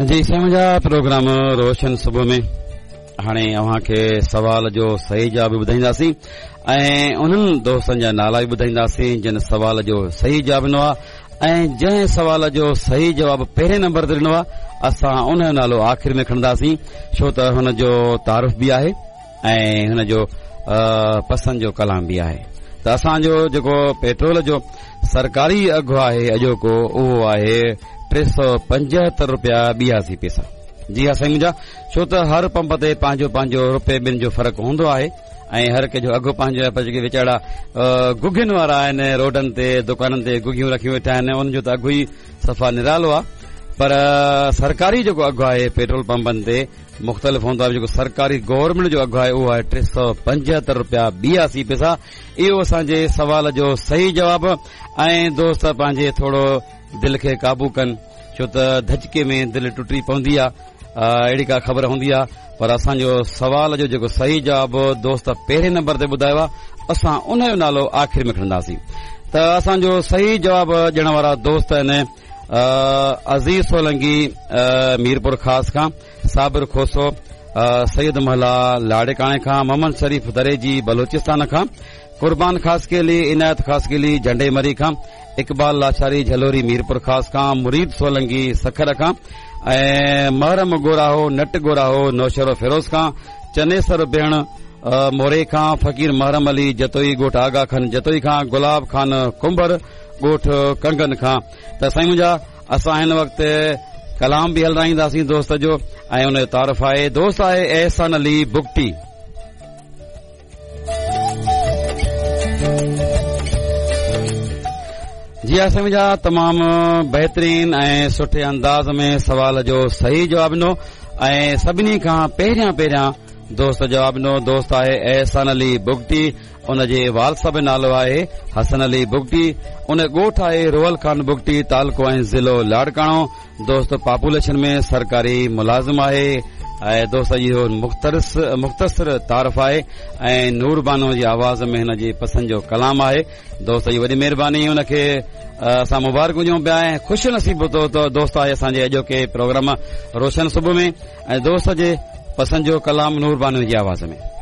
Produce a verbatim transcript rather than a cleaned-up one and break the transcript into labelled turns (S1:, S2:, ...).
S1: जी साईं मुंहिंजा प्रोग्राम रोशन सुबुह में हाणे अव्हां खे सवाल जो सही जवाब ॿुधाईंदासीं ऐं उन्हनि दोस्तनि जा नाला बि ॿुधाईंदासीं जिन सवाल जो सही जवाब ॾिनो आहे ऐं जंहिं सवाल जो सही जवाब पहिरें नंबर ते ॾिनो आहे असां उन जो नालो आख़िर में खणंदासीं, छो त हुन जो तारुफ़ बि आहे ऐं हुन जो पसंदि जो कलाम बि आहे। त असांजो जेको पेट्रोल जो सरकारी अघु आहे अॼोको उहो आहे टे सौ पंजहतरि रुपया ॿियासी पैसा। जी हा साईं मुंहिंजा, छो त हर पंप ते पंहिंजो पंहिंजो रुपए ॿिनि जो फ़र्क़ु हूंदो आहे ऐं हर कंहिंजो अघु पंहिंजो आहे, पर जेके वीचारा गुघियुनि वारा आहिनि रोडनि ते दुकाननि ते गुघियूं रखियूं वेठा आहिनि उन्हनि जो त अघु ई सफ़ा निरालो आहे, पर सरकारी जेको अघु आहे पेट्रोल पंपनि ते मुख़्तलिफ़ हूंदो आहे। जेको सरकारी गवर्नमेंट जो अघु आहे उहो आहे टे सौ पंजहतरि रुपया ॿियासी पैसा। इहो असांजे सवाल जो सही जवाब। ऐं दोस्त पंहिंजे थोरो दिलि खे काबू कनि, छो त धचके में दिलि टुटी पवंदी आहे, अहिड़ी का ख़बर हूंदी आहे। पर असांजो सवाल जो जेको सही जवाब दोस्त पहिरें नंबर ते ॿुधायो आहे असां उन जो नालो आख़िर में खणंदासीं। त असांजो सही जवाब ॾियण वारा दोस्त आहिनि अज़ीज़ सोलंगी मीरपुर ख़ास खां, साबिर खोसो सैयद महला लाड़काणे खां, मोहम्मद शरीफ दरेजी बलोचिस्तान खां, कुर्बान खासकेली इनायत खासकेली झंडे मरी खां, इक़बाल लाशारी झलोरी मीरपुर ख़ास खां, मुरीद सोलंगी सखर खां ऐं महरम गोराहो नट गोराहो नौशहरो फिरोज़ खां, चनेसर बेण मोरे खां, फ़क़ीर महरम अली जतोई ॻोठ आगा खान जतोई खां, गुलाब खान कुंभर ॻोठ कंगन खां। त साईं मुंहिंजा, असां हिन वक़्तु कलाम बि हलाईंदासीं दोस्त जो ऐं उन जो तारुफ़ आहे। दोस्त आहे एहसान अली बुगटी। जी हा साईं मुंहिंजा, तमामु बहितरीन ऐं सुठे अंदाज़ में सवाल जो सही जवाब ॾिनो ऐं सभिनी खां पहिरियां पहिरियां दोस्त जवाब ॾिनो। दोस्त आहे एहसान अली बुगटी, उन जे वाल साहिब जो नालो आहे हसन अली बुगटी, उन ॻोठ आहे रोहल खान बुगटी, तालुको ऐं ज़िलो लाड़काणो। दोस्त पॉपुलेशन में सरकारी मुलाज़िम आहे ऐं दोस्त इहो मुख़्तसर तारुफ़ आहे ऐं नूर बानो जी आवाज़ में हिन जी पसंदि जो कलाम आहे। दोस्त जी वॾी महिरबानी, उनखे असां मुबारकूं ॾियूं पिया ऐं ख़ुशि नसीब दोस्त आहे असांजे अॼोके प्रोग्राम रोशन सुबुह में ऐं दोस्त जे पसंदि जो कलाम नूर बानो जी आवाज़ में।